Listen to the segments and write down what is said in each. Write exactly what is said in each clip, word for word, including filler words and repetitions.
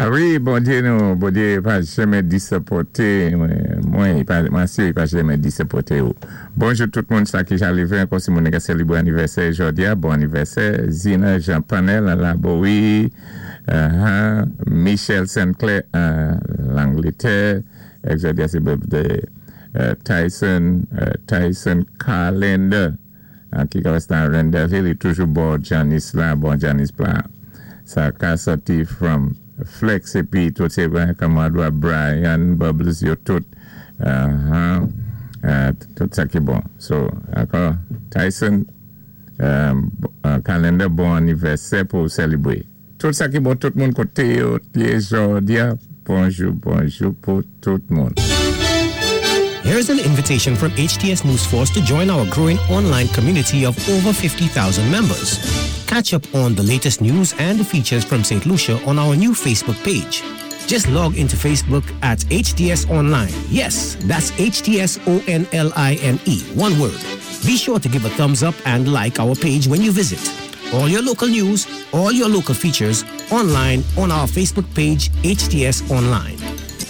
A wi, Bondyé nou, Bondyé pa janmè disapwenté, mwen, mwen si pa janmè disapwenté ou. Bonjou tout moun sa ki ja lévé, ankò si moun ka sélébwé anivèsè jòdi-a, bon anivèsè, Zina Jean Panel an Labowi, uh-huh, Michel Sinclair an Langlétè, èk jòdi-a sé birthday uh, Tyson, uh, Tyson Calendar, ki ka wè an Rendezville, li toujou bò Janice la, bon Janice la, sa ka soti from Flex épi tout sé kamadwa Brian, Bubbles yo tout, uh-huh, uh, tout sa ki bon. So, ankò, Tyson um, Calendar, bon anivèsè pou sélébwé. Tout sa ki bon, tout moun koté yo, yé jòdi-a, bonjou, bonjou pou tout moun. Here's an invitation from H T S News Force to join our growing online community of over fifty thousand members. Catch up on the latest news and features from Saint Lucia on our new Facebook page. Just log into Facebook at H T S Online. Yes, that's H T S O N L I N E, one word. Be sure to give a thumbs up and like our page when you visit. All your local news, all your local features, online on our Facebook page, H T S Online.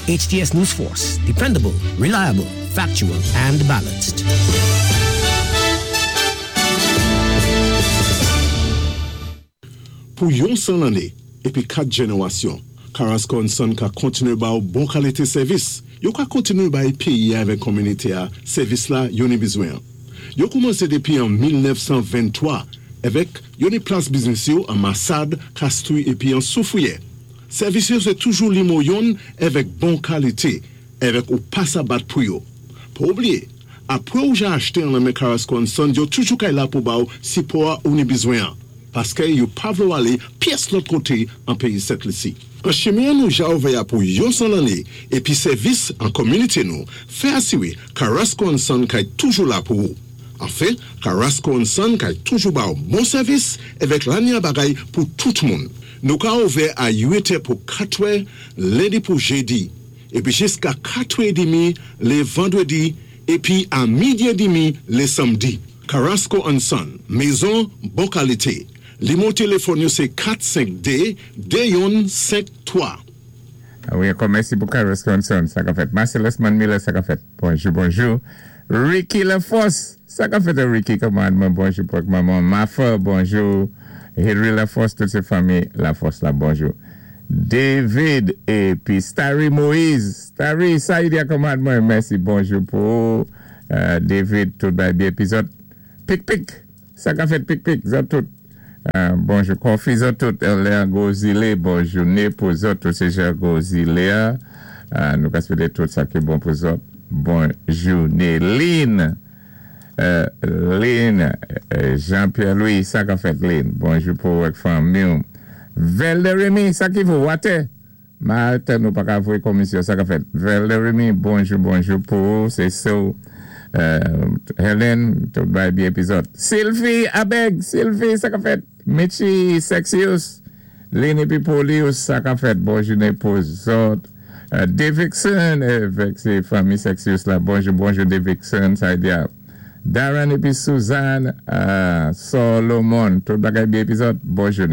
H T S News Force, dependable, reliable, factual, and balanced. Pou yon san lanné, épi kat jénéwasyon, Carrasco and Son ka kontiné ba ou bon kalité sèvis. Yo ka kontiné bay péyi avèk kominité-a sèvis la yo ni bizwen. Yo koumansé dépi an mil nèf san venntwa avèk yo ni plas biznis yo an Massade, Castries épi an Soufrière. Sèvis yo sé toujou nimwo youn avèk bon kalité, avèk ou pa sa bat pou yo. Pa oubliyé, apwé ou ja achté an nan Carrasco and Son, yo toujou kay la pou ba ou sipò ou ni bizwen. Paské yo pa vlé ou alé pyès lòt koté an péyi Sent Lisi. An chimen nou ja ouvè pou yon san lanné épi sèvis an kominité nou, fè asiwé Carrasco and Son kay toujou la pou ou. Anfen, Carrasco and Son kay toujou ba ou bon sèvis avèk lanya bagay pou tout moun. Nou ka ouvè a uit è pou katwè, lendi pou jédi, épi jiska katwè édmi lé vandwédi, épi a midi édmi lé sanmdi. Carrasco and Son, mézon bon kalité. Nimwo téléfòn yo sé kat senk dé de youn senk twa. A wi, ankò mèsi pou Carrasco and Son, sa ka fèt. Marcellus Miller, sa ka fèt. Bonjou, bonjou. Ricky Laforce, sa ka fèt Ricky, kòman, bonjou pou manman Mafa, bonjou. Henry Laforce, tout sé fanmi Laforce la, bonjou. David épi Starry Moïse, Starry, sa y di kòman, mèsi, bonjou pou euh, David, tout bay byen épi zòt. Pik pik, sa ka fèt pik pik, zòt tout. Euh, bonjou, Kofi zòt tout, Léon Gozile, bonjou, pou zòt, tout sé jan Gozile, euh, nou ka swété tout sa ki bon pou zòt. Bonjou, Lynn, euh, Lynn, euh, Jean-Pierre Louis, sa ka fèt Lynn, bonjou pou wèk fanmi. Velde Remy, sa ki vo, wate? Malte nou pa ka voyé komisyon, sa ka fèt. Velde Remy, bonjou, bonjou pou, sé so. Euh, Helen, tout bay byen épi zòt. Sylvie Abeg, Sylvie, sa ka fèt. Michi Sexius, Lynn épi Polius, sa ka fèt. Bonjou pou zòt. Euh, Davidson, avèk sé fanmi Sexius la. Bonjou, bonjou Davidson, sa di. Darren épi Suzanne, euh, Solomon, tout bagay byen épi zòt. Bonjou.